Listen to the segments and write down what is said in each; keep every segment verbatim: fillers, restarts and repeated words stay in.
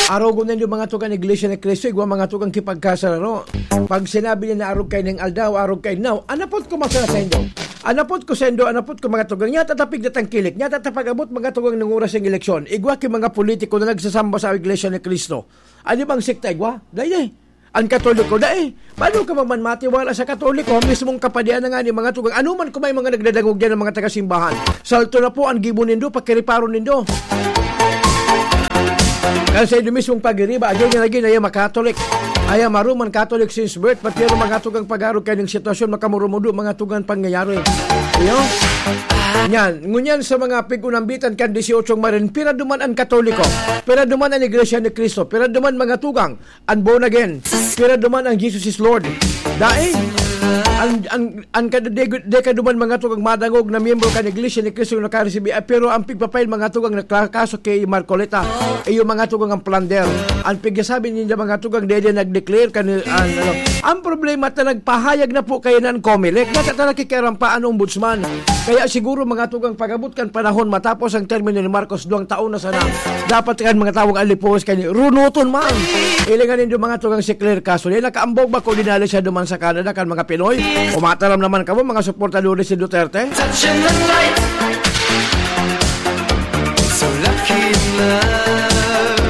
Arogon nindo mga tugang Iglesia ni Cristo, igwa mga tugang kipagkasararo. Pag sinabi niya na arog kayo ning aldaw, arog kayo now, anapot ko masaya sa indo. Anapot ko sa indo, anapot ko mga tugang. Nya tatapig na tangkilik, nya tatapag-abot mga tugang ng oras ng eleksyon. Igwa ki mga politiko na nagsasamba sa Iglesia ni Cristo. Ano bang sekta igwa? Dai, dai. Ang Katoliko, dai. Paano ka magman matiwala sa Katoliko? Mismong kapadian na nga ni mga tugang. Ano man kung may mga nagdadangog yan ng mga taga-simbahan? Salto na po ang gibo nindo, pakiriparo nindo. Kasi ito mismong pagiriba, again and again, ayaw makatolik. Ayaw maruman Catholic since birth, pati ang mga tugang pag-arog kayo ng sitwasyon, makamurumudo, mga tugang pangyayari. Iyo? Yan. Ngunyan sa mga pig-unambitan kan dieciocho marin, pira duman ang Katoliko, pira duman ang Iglesia ni Cristo, pira duman mga tugang, ang born again, pira duman ang Jesus is Lord. Dai, ang, ang, ang kada de, de ka duman mga tugang madangog na miyembro kan Iglesia ni Cristo na nakaresibi, ah, pero ang pigpapail mga tugang naklakaso kay Marcoleta, iyo mga tugang ang plunder. Ang pigsasabi ninyo mga tugang dede nag-declare kan, ang, ano, ang problema ta nagpahayag na po kayo ng Comelec, nasa ta nakikiaram pa ang ombudsman. Kaya siguro mga tugang pag-abot kan panahon matapos ang termino ni Marcos, duwang taon na sana. Dapat kan mga tawag alipuhos kani runuton man. Ilingan nindo mga tugang si Claire Castro. Yan nakaambog ba ko dinali siya duman sa Canada kan mga Pinoy? Umataram naman kamo mga suportadores si Duterte? Touching the light. So lucky in love.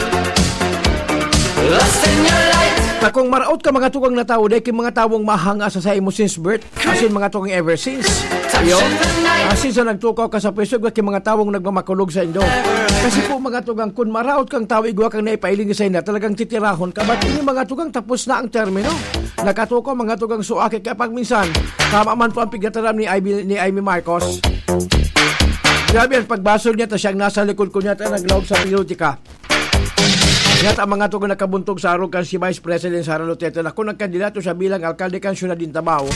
Lost in your light. Takong maraot ka mga tugang na tao, dahil mga tawong mahanga sa sa imo since birth. Asin mga tugang ever since. Iyo. Asin sa nagtukaw ka sa pwesto, igwa ki mga tawong nagmamakulog sa indo. Kasi po mga tugang, kun maraot kang tao, igwa kang naipailing sa inda, talagang titirahon ka. But ini mga tugang, tapos na ang termino. Nakatukaw mga tugang suaki, kaya pag minsan, tama man po ang pigataram ni Ivy, ni Amy Marcos. Grabe ang pagbasol niya, ta siyang nasa likod ko niya, ta naglaog sa politika. Yata mga tugang nakabuntog sa arog kan si Vice President Sara Duterte na kung nagkandidato siya bilang alkalde kan siyudad din Tabao,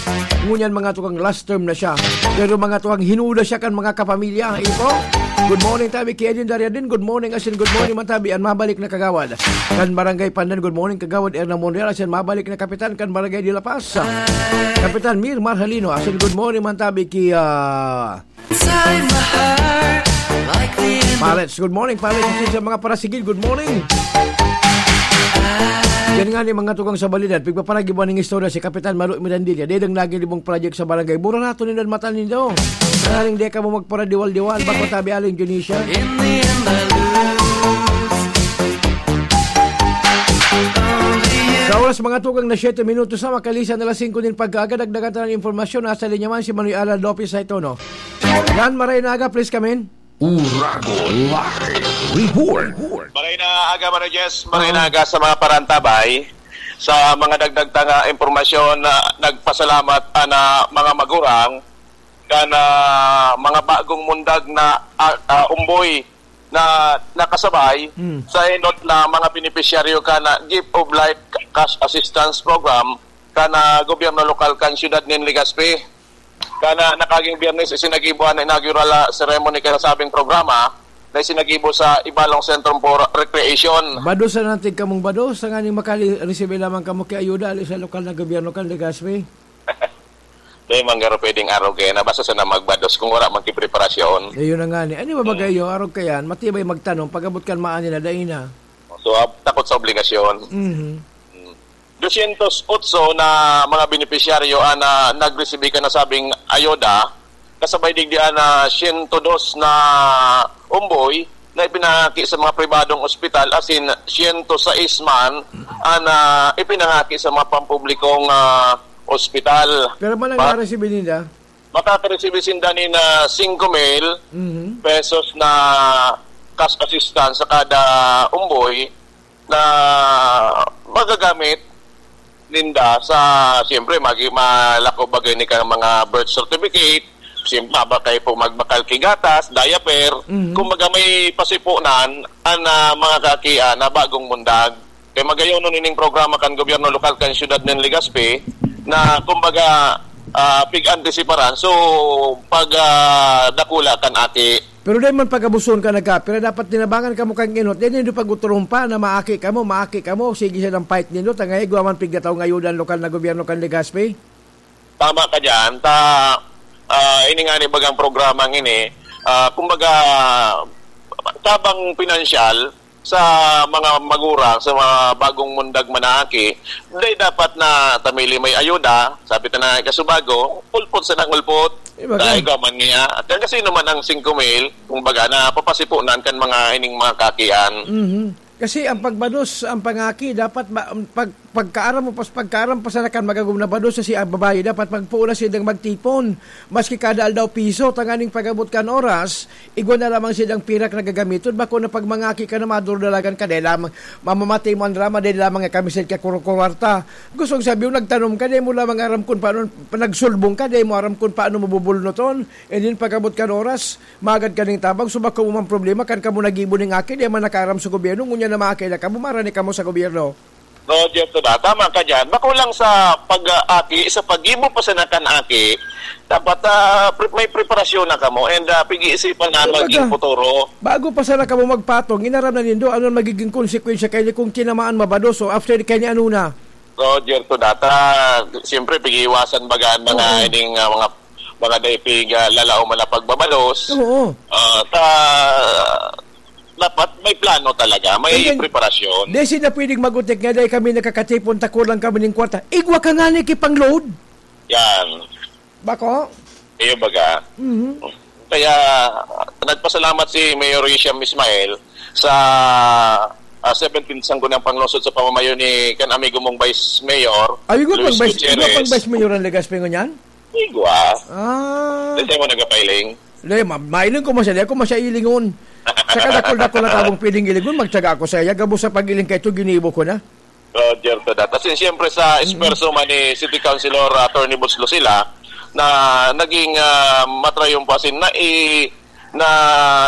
ngunyan mga tugang last term na siya. Pero mga tugang hinuda siya kan mga kapamilya. Ipo, good morning tabi kay Edin Dariadin. Good morning asin good morning man tabi an mabalik na kagawad kan Barangay Pandan. Good morning kagawad Erna Monreal asin mabalik na kapitan kan Barangay de la Paz. Kapitan Mir Marhalino asin good morning man tabi kay, ah, Inside my heart, like the end of Pallets, good morning, Pallets. Sa mga parasigid, good morning. Yan nga ni mga tugang sa balidad, pigpaparagiban ng istorya si Kapitan Malo Mirandilla, dedang naging libong project sa barangay. Mura na ito nindang mata nindo. Maring di ka mo magparadiwal-diwal, bako tabi aling Dionisia. In the end, I lose. Only you. Sa oras mga tugang na siyete minutos na, makalisan na alas singko nin pagkaaga, dagdagan ta ng impormasyon. Nasa linya man si Manoy Alan Lopez sa ito, no? Yan, maray na aga, please come in. Uragon Live Report. Maray na aga, Manoy Jess. Maray na aga sa mga parantabay. Sa mga dagdag ta nga impormasyon, na nagpasalamat ang, ah, mga magurang kan, ah, mga bagong mundag na, ah, ah, umboy na nakasabay Mm. sa enot na mga benepisyaryo kan, ah, Gift of Life Cash Assistance Program kan, ah, gobyerno lokal kan siyudad nin Legazpi. Kan, ah, nakaging Biyernes, isinagibo an inaugural, ah, ceremony kan nasabing programa na isinagibo sa Ibalong Centrum for Recreation. Bados na natin kamong bados, tanganing makali-, receive lamang kamo ki ayuda ali sa lokal na gobyerno kan Legazpi. Di man garo pwedeng arog kaya na basta sana magbados kung wala man ki preparasyon. Eh, yun na nga ni. Ano ba Hmm. magayo? Arog kayan, matibay magtanom, pag-abot kan maani na, dai na. So, ab-, takot sa obligasyon. Mhm. Hmm. Dosyentos otso na mga benepisyaryo ang, ah, nagresibi kan nasabing ayuda, kasabay digdi ang, ah, siyento dos na umboy na ipinangaki sa mga pribadong ospital, asin siyento sais man ang, ah, ipinangaki sa mga pampublikong, ah, ospital. Pero man ang Pa- naresibi ninda? Makakaresibi sinda nin, ah, singko mil Mhm. pesos na cash assistance sa kada umboy na magagamit ninda sa, siyempre, magi-, malako bagay ni kang mga birth certificate, siyempre, ba kayo po magbakal ki gatas, diaper. Mhm. Kumbaga, may pasipunan ang, ah, mga kakian na bagong mundag. Kaya magayon nun ining programa kan gobyerno lokal kan siyudad nin Legazpi na, kumbaga, ah, pig-antisiparan. So, pag, ah, dakula kan aki. Pero dai man pag-abuson ka nagkapira, dapat tinabangan kamo kan enot. Dai nindo pag-uturumpa na maaki kamo, maaki kamo. Sige siya ng fight nindo. Tangay, igwa man pigdataw nga ayuda ang lokal na gobyerno kan Legazpi. Tama ka dyan. Ta, ah, ini nga ni bagang programang ini, ah, kumbaga, tabang pinansyal, sa mga magurang, sa mga bagong mundag manaki, dai dapat na tamili may ayuda, sabi ta na kasubago, ulpot sa nangulpot. Eh, baga. Dai ka man niya. At kasi naman ang singko mil, kumbaga, na papasipunan kan mga ining mga kakian. Mhm. Kasi ang pagbados, ang pangaki, dapat ba, pag, pagkaaram mo, pas, pagkaaram pa sana kan magagom na bados sa si, ah, babayi, dapat magpuon na silang magtipon. Maski kada aldaw piso, tanganing pag-abot kan oras, igwa na lamang silang pirak na gagamiton. Bako na pag mangaki ka na, madurdalagan ka, dahil lamang mamamatay mo ang drama, dahil lamang nga kami sa kakurukuwarta. Gusto kong sabi, nagtanom ka, dahil mo lamang aram kung paano, nagsulbong ka, dahil mo aram kung paano mabubulnuton. And then, pag-abot kan oras, magad ka ning tabang, so bako mo man problema, kan kamo nagibo ning aki, di man nakaaram sa gobyerno, ngunyan na maaki na kamo, marani kamo sa gobyerno. Roger, to da, tama ka dyan. Bako lang sa pag-aki, sa pag-ibo pa sa nakan aki, dapat ah, pre- may preparasyon na kamo and ah, pag-iisipan na Ano maging baga? Futuro. Bago pa sana kamo magpatong, inaram na nindo, ano ang magiging konsekwensya kayo kung tinamaan mabados o after kayo ni ano na? Roger, to data, siyempre, pag-iiwasan baga ang mga Oo. ining ah, mga mga daipig ah, lalaom na pagbabalos. Oo. Ah, ta, dapat may plano talaga, may Ganyan. Preparasyon. Di sila pwedeng magutik nga dahil kami nakakatipon, tako lang kami ng kwarta. Igwa ka nga ni kipang-load. Yan. Bako? Iyo baga. Mhm. Kaya nagpasalamat si Mayor Hisham Ismail sa ah, seventeenth Sangguniang Panglungsod sa pamamayo ni kan amigo mong Vice Mayor, Ay, igwa Luis pang vice, igwa Gutierrez. Pang vice mayor ang Legazpi ngunyan? Igwa. Ah. Dito mo nagapailing. Hindi, ma- mailing ko masya, di ako masya ilingon. Sa kadakol-dakol na tabong piling ilingon, magtsaga ako sa iya. Gabos sa pag-iling ka ito, ginibo ko na. Roger to that. As in, siyempre sa esperso man ni City Councilor Attorney Boots Lucila na naging ah, matrayumpo, as in, na i, na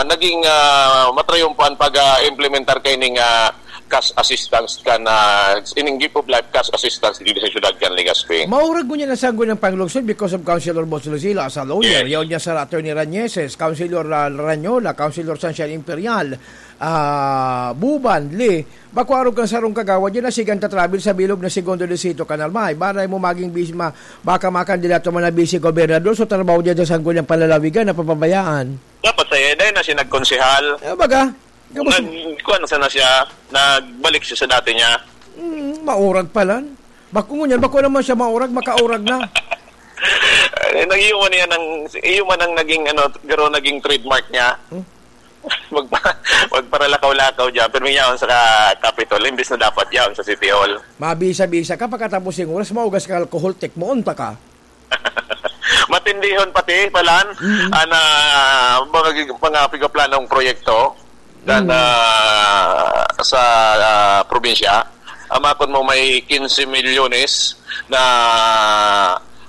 naging ah, matrayumpo ang pag-implementar kay ning ah, cash assistance kan ah, ining gift of life cash assistance dito sa syudad kan Legazpi. Maurag ngunyan na Sangguniang Panglungsod because of Councilor Boots Lucila as a lawyer. Yes. Yaon niya sa Attorney Rañeses, Councilor ah, Rañola, Councilor Sunshine Imperial, ah, Buban, Lee, Bako arog kan sarong kagawad, yan na sigan ta travel sa bilog na Segundo Distrito, Kanal May. Baray mo maging busy, ma, baka makandidato man na busy gobernador, so trabaho dyan sa Sangguniang Panlalawigan na papabayaan. Dapat sa iya, dahil na siya nagkonsehal. Eh, baga? Gabos Nag, kuwan sana siya, nagbalik siya sa dati niya. Hmm, maurag pala. Bako ngunyan, bako naman siya maurag, makaurag na. Eh, nag-, iyo man yan ang, iyo man ang naging, ano, garo naging trademark niya. Hmm? Magpa-, magparalakaw-lakaw dyan, pero may yaon sa ka-, Capitol, imbis na dapat yaon sa City Hall. Mabisa-bisa ka, pagkatapos yung oras, maugas ka alcohol, tek mo, unta ka. Matindihon pati, Palan, Mm. ana, mga, mga pigaplanong proyekto dan, Mm. ah, sa, ah, probinsya. Amakon mo may quince milyones na,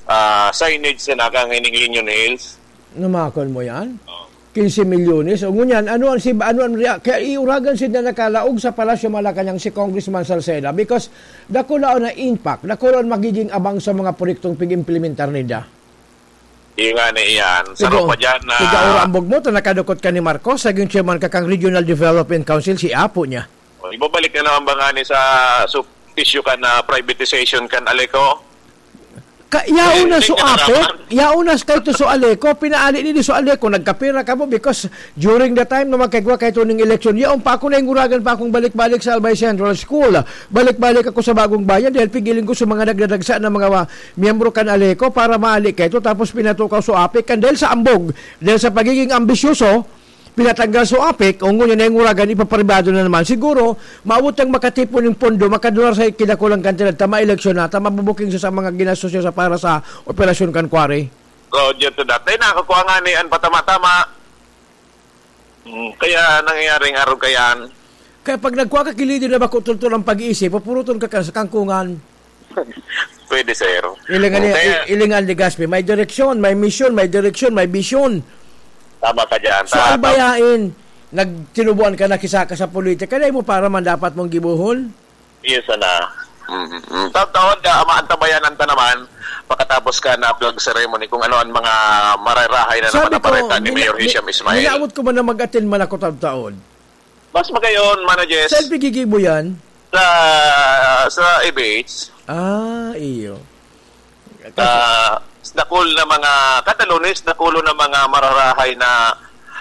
ah, signage sa nakang ining Union Hills. Namakon mo yan? Oo. Quince milyones. O ngunyan, ano ang si, ano ang rea-, kaya iuragan sila nakalaog sa Palasyo Malacañang si Congressman Salceda because dakula na impact, dakula ang magiging abang sa mga proyektong pig-implementar ninda. Iyo nga na iyan. Sa Tigo, pa dyan na tiga Ora Ambog mo, to nakadukot ka ni Marcos, naging chairman ka kang Regional Development Council, si Apo niya. O, ibabalik na naman ba nga ni sa su-, issue kan na privatization kan Aleco? Ka, yaon Eh, na hindi so ka apek, naraman. Yaon na kay to so Aleco, pinaali ni so Aleco, nagkapira ka mo because during the time na magkagwa kay to ning election, yaon pa ako na inguragan pa akong balik-balik sa Albay Central School. Balik-balik ako sa Bagong Bayan dahil pigiling ko sa mga nagdadagsa na mga wa-, miyembro kan Aleco para maali kay to, tapos pinatukaw so apek kan dahil sa ambog, dahil sa pagiging ambisyoso, pinatanggal so apek, o ngunyan na yung uragan, ipapribado na naman. Siguro, maabot ang makatipon ng pondo, makadular sa kinakulang kantidad, ta maeleksyon na, ta mabubuking sa, sa mga ginastos niya sa para sa operasyon kan quarry. Roger to that. Ay, nakakuha nga ni an patama-tama. Hmm, kaya nangyayaring araw kayaan. Kaya pag nagkuha ka, kilid na bako tultol ang pag-iisip, papuruton ka, ka sa kangkungan. Pwede, sir. Ilingan ni, Kaya i-, ilingan ni Gaspi. May direksyon, may misyon, may direksyon, may bisyon. Tama ka dyan. So, Tama. Albayain, nagtinubuan ka na kisa ka sa politika. Dahil mo para man dapat mong gibuhon? Yes, ana. Mm, mm. Taon-taon, ah, maantabayan ang tanaman. Pagkatapos ka na flag ceremony, kung ano ang mga mararahay na Sabi naman ang ko, bareta ni nina-, Mayor Hisham ni-, Ismail. Ninaabot ko man na mag-attend man ako taon-taon. Mas magayon, Mano Jess. Saan pigigibo yan? Sa, sa Ibex. Ah, iyo. Kasi Ah, dakul na mga, kada Lunes, dakulo na mga mararahay na,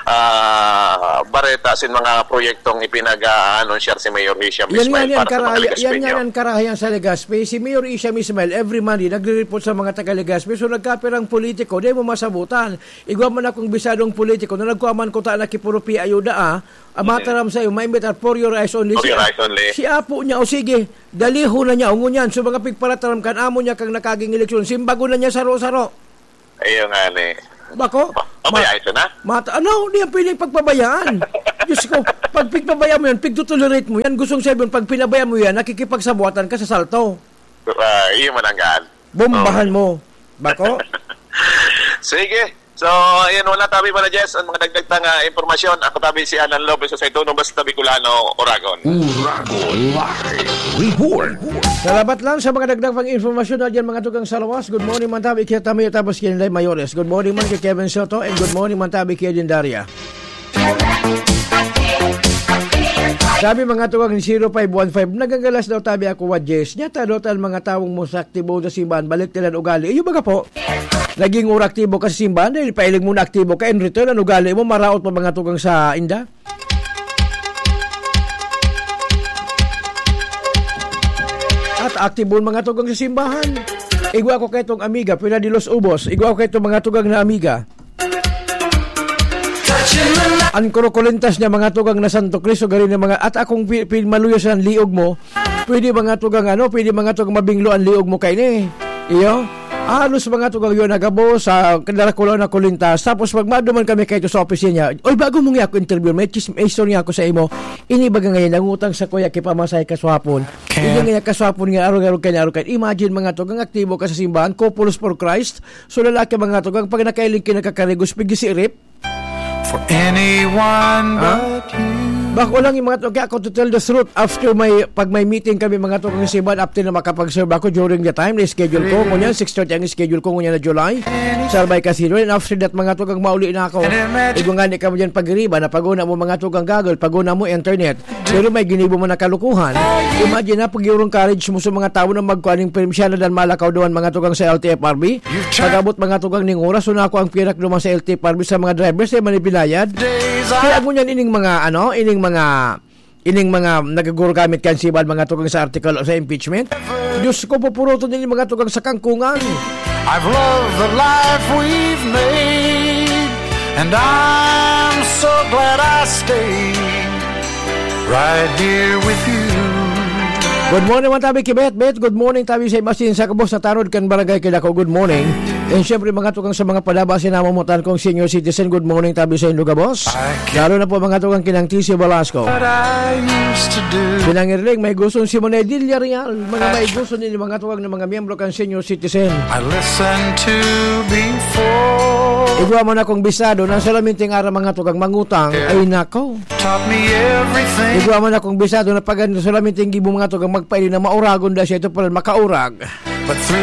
ah, bareta sin mga proyektong ipinag-aanunsyar si Mayor Isha Yan nga Ismail yan, para sa mga karaha-, yan nga Legazpeño. Yan karahayan sa Legazpi. Si Mayor Isha Ismail, every Monday, nagre-report sa mga taga Legazpi. So, nagkapirang politiko, di mo masabutan. Igwa man akong bisadong politiko na nagkuha man kuta na kipuro pi ayuda, ah. Ang Mm. mataram sa'yo, maimbitar for your eyes only. For your eyes only. Si apo niya, o sige, dalihon na niya, o ngunyan. So, mga pigparataram kan amo niya kang nakaging eleksyon, simbagon na niya saro-saro. Ayun nga ni. Bako? Ba-, pabayaan Ma-, siya na? Mata-, ano? Di yan pwedeng pagpabayaan. Diyos ko, pag pigpabayaan mo yan, pigtotolerate mo yan. Gustong sabihin, pag pinabayaan mo yan, nakikipagsabuatan ka sa salto. Ah, iyo man ang gaan. Bombahan Oo. mo. Bako? Sige. So, ayun, wala tabi pala, Jess. Ang mga dagdag tang, ah, impormasyon. Ako tabi si Alan Lopez sa Saituno, basta Bicolano, Oragon. Uragon Live Report. Salamat lang sa mga dagdag pang impormasyon na dyan, mga tugang sa lawas. Good morning, man tabi, kaya tamayo tapos kaya nilay mayores. Good morning man kay Kevin Soto and good morning, man tabi, kay Edin Daria. Sabi, mga tugang, zero five one five, nagagalas daw tabi ako, wa, Jess. Nyata daw tan mga tawong mo sa aktibo sa simbahan, balik nila ang ugali. Iyo baga po, naging ura aktibo ka sa simbahan, dahil pailing mo na aktibo ka, in return, ang ugali mo, maraot pa mga tugang sa inda. At aktibo ang mga tugang sa simbahan. Igwa ko kay itong amiga, Pina de los Ubos. Igwa ko kay itong mga tugang na amiga. An kurukulintas niya, mga tugang na Santo Cristo, gari na mga, at akong pi-, pi-, maluyos ang liog mo, pwede mga tugang ano, pwede mga tugang mabinglo ang liog mo kaini. Iyo? Alos mga tugang yun, nagabo sa Darakulaw na kulintas. Tapos pag maduman kami kayo sa opisina niya, "Oy, bago mo nga ako interview, may chisme, may istorya ako sa imo." Ini baga ngayon, nangutang sa kuya, kipamasay kaswapon. Ini nga kaswapon nga, arog-arog kayo, arog kayo. Imagine mga tugang, aktibo ka sa simbahan, Couples for Christ. So lalaki mga tugang, pag nakailing ka, nakakarigos, pigisi rip. For anyone Ah? but you. Bako lang yung mga to-, kaya ako, to tell the truth, after may, pag may meeting kami, mga tugang, sa iba, after na makapag-serve ako during the time na schedule ko, Really? Kunyan, six thirty ang schedule ko, kunyan na July, sa Albay Casino, and after that, mga tugang, mauli na ako. And imagine Igo nga, di ka mo dyan pag-iriba, na pag-una mo, mga tugang, gagol, pag-una mo, internet. Pero may ginibo mo na kalukuhan. Imagine na, pag yung courage mo sa mga tao na magkuhaning permisyon na dan malakaw doon, mga tugang, sa L T F R B. You've tried Pag-abot mga tugang ning oras, so na ako ang pirak duman sa L T F R B sa mga drivers, eh, manibilayad. Days Kaya I ako niyan ining mga, ano, ining mga, ining mga nagaguro gamit kan sibal mga tugang sa article o sa impeachment. Diyos ko, pupuruton din yung mga tugang sa kangkungan. I've loved the life we've made, and I'm so glad I stayed right here with you. Good morning, mga tabi, Kibet. Bet, good morning, tabi sa iba, sin sa kabos na tanod kan barangay Kidako. Good morning. And syempre, mga tukang sa mga padaba, sinamamutan kong senior citizen. Good morning, tabi sa inyo, gabos. I can't Lalo na po, mga tukang kinang T C Velasco. What I used to do. Pinangirling, may gusto si Monedilla Real. Mga may gusto ni mga tukang ng mga miyembro kan senior citizen. I listened to before. Igwa mo na kong bisado na solamente ang ara mga tukang mangutang. Yeah. Ay, nako. Taught me everything. Igwa man akong bisado na pagan solamente ang gibo mga tugang magpaili na mauragon da siya ito pala makaurag. But through